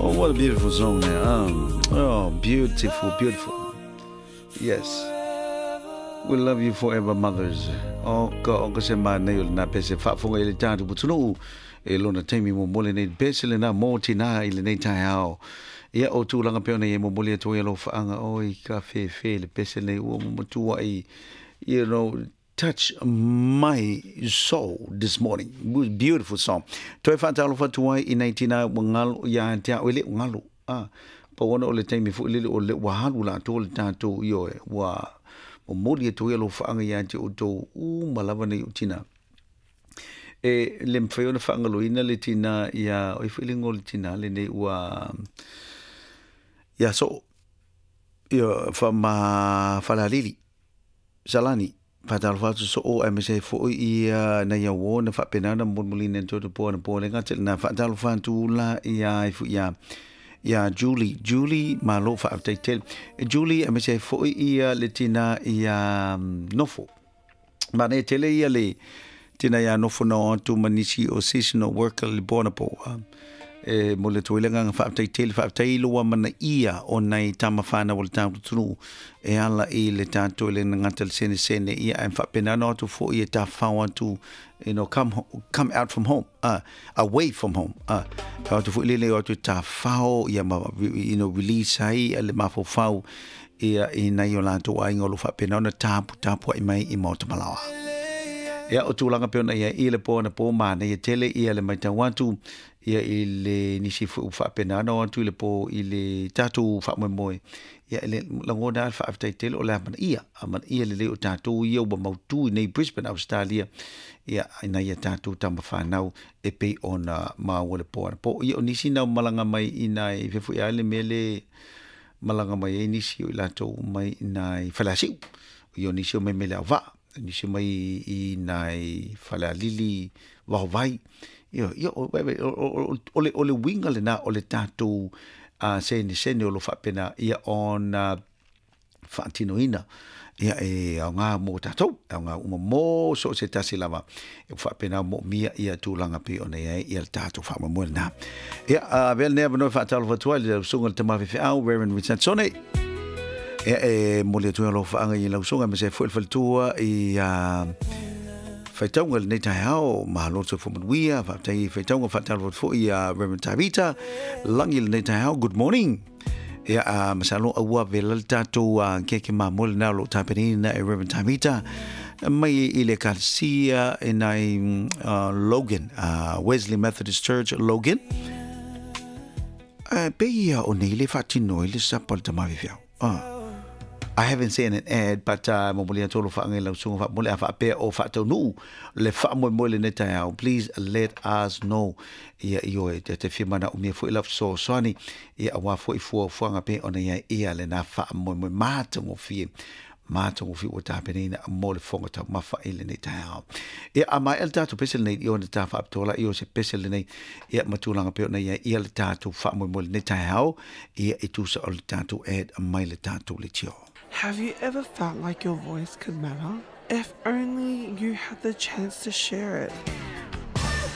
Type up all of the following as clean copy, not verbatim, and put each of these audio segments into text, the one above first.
Oh, what a beautiful song there. Oh, beautiful, beautiful. Yes. We love you forever, mothers. O ka o ka se mānei o lena pese faafofoga i le tatou atunuu e lona taimi mo lenei pese lena mo tina i lenei taeao. Ia o tulaga pea ona ia momoli atu ai alofaaga oi ka fefe le pese nei ua matuai touch my soul this morning. It was beautiful song. Toe faatalofa atu ai i nai tina ua galo ia te au e le o galo. Ah, pau ona o le taimi foi lele o le ua alu latou le tatou ioe ua momoli atu ai alofaaga ia te outou uma lava nei o tina. E le mafai ona faagaloina le tina ia oi foi le igoa o le tina lenei ua ia soo ia ma Falealili Salani faatalofa atu soo aemaise ai foi ia nai auo na faapena ona molimolina i totonu po anapo le gata lena faatalofa atu la ia ai foi ia ia Julie. Julie, malo faafetai tele. Julie aemaise ai foi ia le tina ia Nofo. Manaia tele ia le tina ia Nofo na o atu ma nisi o seasonal worker le po anapo. E momoli atu ai le agaga faafetai tele, faafetai i lou amanaia o nai tama fanau o le tatou atunuu e ala i le tatou i le gata le senesene ia ae faapena ona o atu foi e tafafao atu come out from home, away from home, e o atu foi lele o atu e tafafao ia ma release ai le mafaufau ia i nai o latou aiga o lo o faapena ona taputapuai mai i maota malaoa. Ia o tulaga pei ona i ai i le po anapo manaia tele ia le matau atu ia i le nisi foi ua faapena ona o atu i le po i le tatou faamoemoe, ia e le lagona lava le faafetai tele o le amanaia, amanaia lelei o tatou ia ua mautu i nei Brisbane, Australia, ia ina ia tatou tama fanau e pei ona maua le po anapo. Ia o nisi na malaga mai i nai fea foi lava le mea le malaga mai ai nisi o i latou mai i nai Faleasiu, ia o nisi o mai mai Leauvaa, nisi mai i nai Falealili, Vaovai. Ia, ia, o, o, o, le, o le uiga lena o le tatou senesene o lo o faapena ia ona faatinoina. Ia e aoga mo tatou, e aoga uma mo so o se tasi lava e faapena moomia ia tulaga pei ona i ai ia le tatou faamoemoe lena. Ia, avea lenei avanoa e faatalofa atu ai i le susuga i le tama faifeau, Reverend Richardsone. Ia, e momoli atu ai alofaaga i lau susuga aemaise ai foi le faletua i faitauga i lenei taeao. Malo le soifua manuia, faafetai i faitauga, faatalofa atu foi ia Reverend Tavita Lagi i lenei taeao. Good morning. Ia, masalo aua vela le tatou keke mamoe lena o lo o tapenaina e Reverend Tavita mai i le ekalesia e nai Logan, Wesley Methodist Church, Logan. Pei ia o nei le faatino ai le sapa o le tama faifeau. I haven't seen an ad, but momoli atu alofaaga i lau susuga faamomoli a faapea o faataunuu le faamoemoe lenei taeao. Please let us know. Ia ioe, te fia manaomia foi lau fesoasoani, ia aua foi fuafuaga pei ona i ai ia lena faamoemoe matagofie matagofie ua tapenaina mo le fofoga taumafa i lenei taeao. Ia, a maea le tatou pese lenei, ia ona ta faapitoa laia o se pese lenei, ia ma tulaga pei ona i ai ia le tatou faamoemoe lenei taeao, ia e tusa o le tatou ad mai le tatou leitio. Have you ever felt like your voice could matter? If only you had the chance to share it.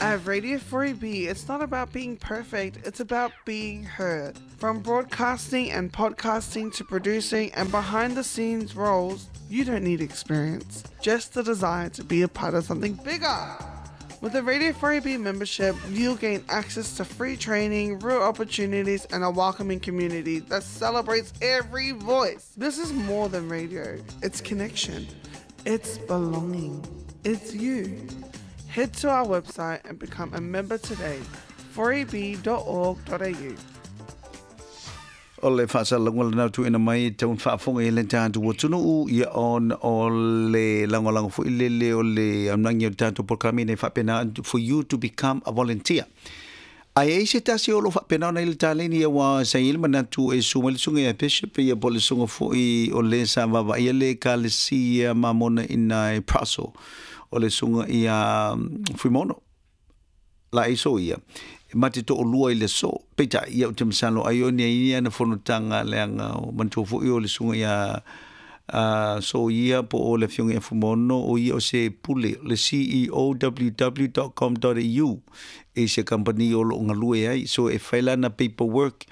At Radio 4EB, it's not about being perfect, it's about being heard. From broadcasting and podcasting to producing and behind the scenes roles, you don't need experience, just the desire to be a part of something bigger. With a Radio 4EB membership, you'll gain access to free training, real opportunities, and a welcoming community that celebrates every voice. This is more than radio, it's connection, it's belonging, it's you. Head to our website and become a member today, 4eb.org.au. O le faasalalauga lena tuuina mai e tau faafofoga i le tatou atunuu ia ona o le lagolago foi lele o le aunagi o le tatou polokalame ina ia faapena for you to become a volunteer. Ae i ai se tasi o lo o faapena ona i le taleni aua sa i ai le manatu e susu mai le susuga ia Bishop ia po o le susuga foi o le sa vaavaaia le Ekalesia Mamona i nai Praso o le susuga ia Fuimono la iso ia e ma te to'olua i le aso. Peitai, ia ou te masalo ai o ni ai ana fonotaga leaga o manatua foi o le susuga ia So ia po o le afioga ia Fuimaono, o ia o se pule, le CEO ww.com.au i se kamupani o lo o galue ai. So e fai lana paperwork,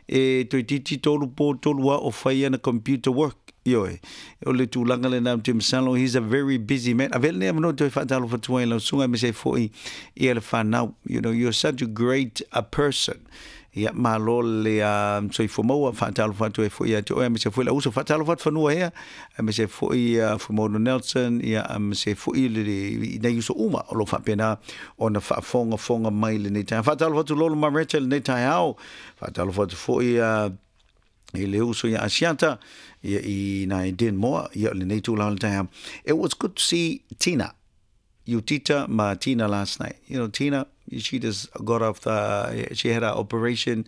e toeitiiti tolu po tolu ao o fai ana computer work. Ioe, o le tulaga lena ou te masalo, he's a very busy man. Avea lenei avanoa toe faatalofa atu ai i lau susuga aemaise ai foi ia le fanau. You know, you're such a great a person. Ia, malo le soifua maua, faatalofa atu ai foi ia te oe aemaise foi le auso. Faatalofa atu fanua hea, aemaise ai foi ia Fuimaono Nelson, ia aemaise ai foi le, i nai uso uma o lo o faapena ona faafogafoga mai lenei taeao. Faatalofa atu Lolo Mareta i lenei taeao. Faatalofa atu foi ia i le uso ia Asiata, ia i nai Denmore, ia o lenei tulaga o le taeao. It was good to see Tina, Utita ma Tina last night. You know, Tina, she just got off the, she had an operation,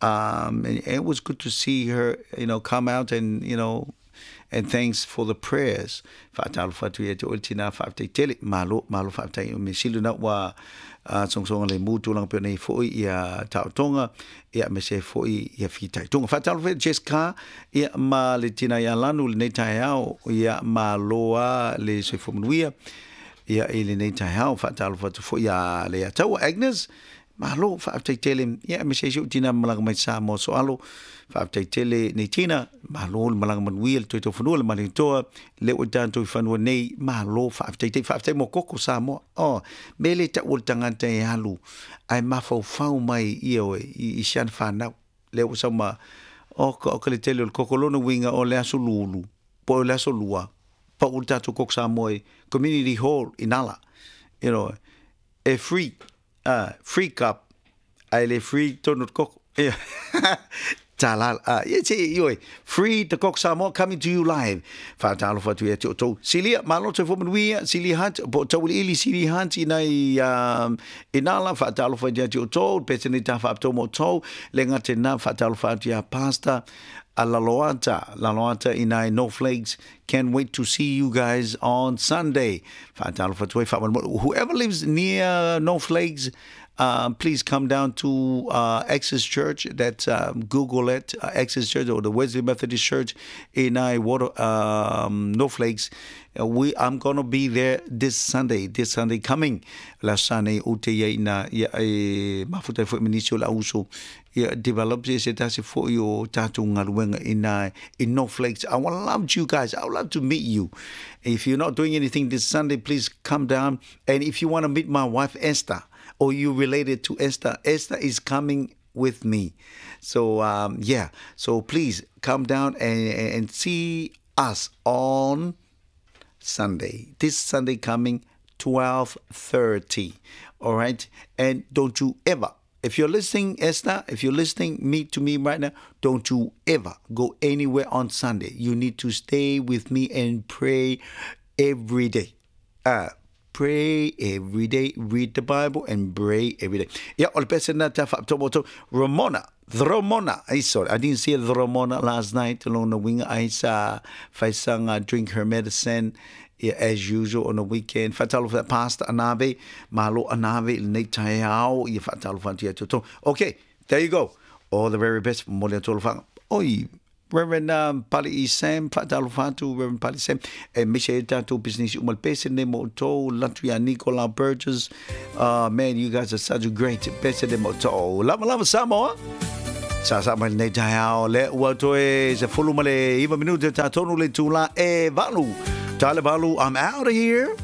and it was good to see her, you know, come out and, you know, and thanks for the prayers. Faatalofa atu ia te oe le tina faafetai tele, malo, malo faafetai. O mea sili na ua sogasoga le mu tulaga pei ona i ai foi ia taotoga, ia aemaise ai foi ia fitaituga. Faatalofa ia Jessica, ia ma le tina ia Lanu i lenei taeao, ia malo a le soifua manuia, ia i lenei taeao. Faatalofa atu foi ia Leiataua Agnes, Malo, faafetai tele. Ia, aemaise ai si ou tina malaga mai Samoa Soalo. Faafetai tele nei tina. Malo le malaga manuia le toe taufanua le Malietoa. Le ua tatou i fanua nei. Malo, faafetai tele. Faafetai mo koko Samoa. Oh, me le tau o le tagata e alu ae mafaufau mai ia oe i, i siana whanau. Le ua sau ma, oh, ka, ka le tele o le koko lona uiga o le aso lulu, po o le aso lua, pau le tatou koko Samoa i Community Hall i Nala. You know, e free. Ah, free cup, ae le free tonu te koko. Ia, tā la, ah, ia te, ioi, free the Koko Samoa coming to you live. Whātālofa atu ia te o tōu. Silia, malo te whamanuia, Silia Hunt, po tauiliili Silia Hunt i nei, i nāla, whātālofa ia te o tōu, pese nei tā whaapito mō tōu, le ngā te nā, whātālofa atu ia Pastor, a Laloata, Laloata i nai North Lakes. Can't wait to see you guys on Sunday. Whātālofa atu ai, whaamanumaru. Whoever lives near North Lakes, please come down to Access Church. That's Google it, Access Church or the Wesley Methodist Church in I Water, North Lakes. We I'm gonna be there this Sunday, this Sunday coming. Last Sunday o te ia ina ia e mafuta foi minisi o la uso ia develop se se tasi foi o tātou galuega ina i North Lakes. I would love you guys. I would love to meet you. If you're not doing anything this Sunday, please come down. And if you want to meet my wife Esther, or you related to Esther, Esther is coming with me. So yeah, so please come down and see us on Sunday. This Sunday coming, 12:30. All right? And don't you ever, if you're listening, Esther, if you're listening me to me right now, don't you ever go anywhere on Sunday. You need to stay with me and pray every day. Pray every day, read the Bible and pray every day. Yeah, o le pese na ta whaapito mo tau. Ramona, Ramona, I sorry, I didn't see Ramona last night along the wing. I saw Faisanga drink her medicine. Yeah, as usual on the weekend. Whaatalo for that pastor Anave, malo Anave, i lenei taeao, ia whaatalo whantu ia tō. Okay, there you go. All the very best mo le atolo whanga. Oi, Reverend Pali Sam, whaatalo whantu, Reverend Pali Sam. E mise e tātou business umal pese ne mo tō, latu ia Nicola Burgess. Man, you guys are such a great pese ne mo tō. Lava lava Samoa. Sa sa mai nei taeao, le ua toe se fulu ma le iva minute tā tonu le tūla e valu. Tale valu, I'm out of here.